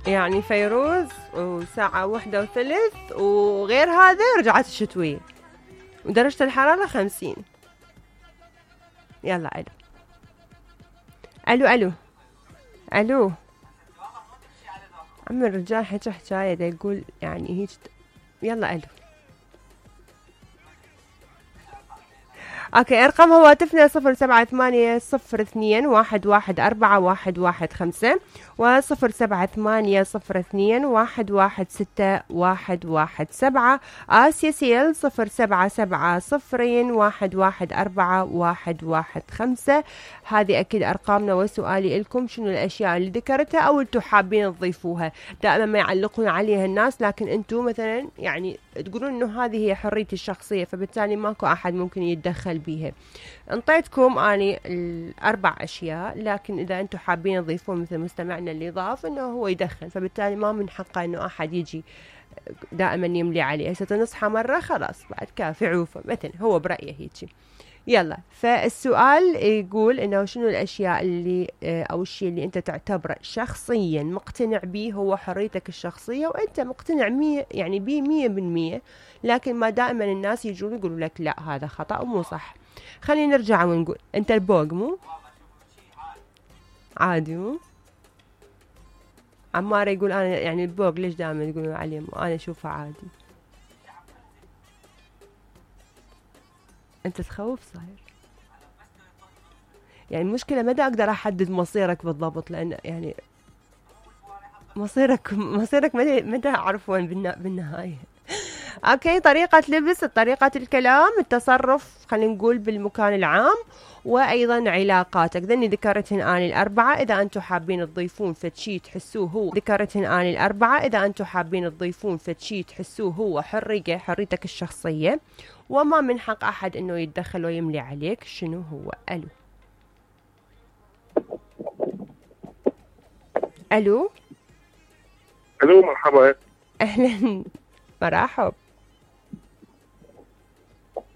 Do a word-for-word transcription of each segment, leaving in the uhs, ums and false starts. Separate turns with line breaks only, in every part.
يعني فيروز وساعة واحدة وثلث، وغير هذا رجعت الشتوية ودرجة الحرارة خمسين. يلا ألو ألو ألو ألو عم الرجال حكى حكاية دا يقول يعني هيك. يلا ألو. اوكي، ارقام هواتفنا صفر سبعة ثمانية صفر اثنين واحد واحد اربعة واحد واحد خمسة وصفر سبعة ثمانية صفر اثنين واحد واحد ستة واحد واحد سبعة. آسيا سيل صفر سبعة سبعة صفرين واحد واحد أربعة واحد واحد خمسة. هذه أكيد أرقامنا. وسؤالي لكم، شنو الأشياء اللي ذكرتها أو أنتم حابين تضيفوها؟ دائما ما يعلقون عليها الناس، لكن أنتم مثلا يعني تقولون إنه هذه هي حريتي الشخصية، فبالتالي ماكو أحد ممكن يتدخل بيها. انطيتكم اني الاربع اشياء، لكن اذا انتم حابين تضيفون مثل مستمعنا اللي ضاف انه هو يدخن، فبالتالي ما من حقه انه احد يجي دائما يملي عليه. هسه نصحى مره خلاص بعد كافي عوفه مثلا، هو برايه هيك. يلا، فالسؤال يقول انه شنو الاشياء اللي او الشيء اللي انت تعتبره شخصيا مقتنع به هو حريتك الشخصيه، وانت مقتنع مية يعني بيه مية بالمية، لكن ما دائما الناس يجون يقولوا لك لا هذا خطأ ومو صح. خلينا نرجع ونقول انت البوق مو عادي، مو عمار يقول انا يعني البوق ليش دائما يقولون عليه مو، انا اشوفه عادي. انت تخوف صاير. يعني المشكلة متى اقدر احدد مصيرك بالضبط، لان يعني مصيرك مصيرك متى متى اعرف وين بالنهاية. اوكي، طريقة لبس، طريقة الكلام، التصرف خلينا نقول بالمكان العام، وايضا علاقاتك. ذني ذكرتهن اني الاربعة. اذا انتم حابين تضيفون فتشي تحسوه هو ذكرتهن اني الاربعة اذا انتم حابين تضيفون فتشي تحسوه هو حرية حريتك الشخصية، وما من حق احد انه يتدخل ويملي عليك. شنو هو؟ الو الو
الو مرحبا.
اهلا مرحب.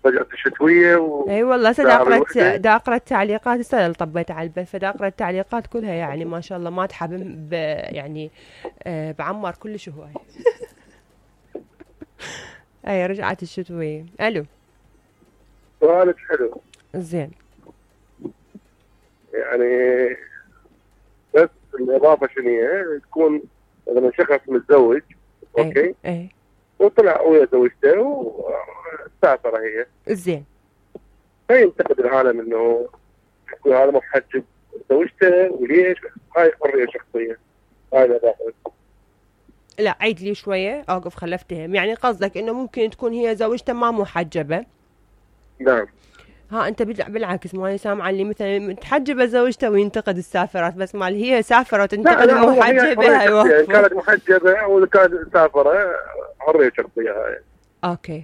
فجأة الشتوية و...
اي والله سدا اقرأت دا اقرأ التعليقات. السنة اللي طبيت على البث فدا اقرأ التعليقات كلها، يعني ما شاء الله ما تحب ب... يعني آه بعمر كلش هواي. اي رجعت الشتوية. الو
سؤالك حلو
زين.
يعني بس الإضافة شنو هي؟ تكون مثلا شخص متزوج اوكي
اي, أي.
وطلع ويا زوجته وسافر هي
زين،
فينتقد العالم انه يقول هذا محجب زوجته وليش؟ هاي حرية شخصية. هاي الإضافة.
لا عيد لي شوية اوقف خلفتهم. يعني قصدك انه ممكن تكون هي زوجته ما محجبة؟
نعم.
ها انت بالعكس ماني سامعه اللي مثلا متحجبه زوجته وينتقد السافرات، بس مال هي سافره وتنتقد المحجبه.
هي كانت محجبه او كانت سافره حريه شخصيه هاي.
اوكي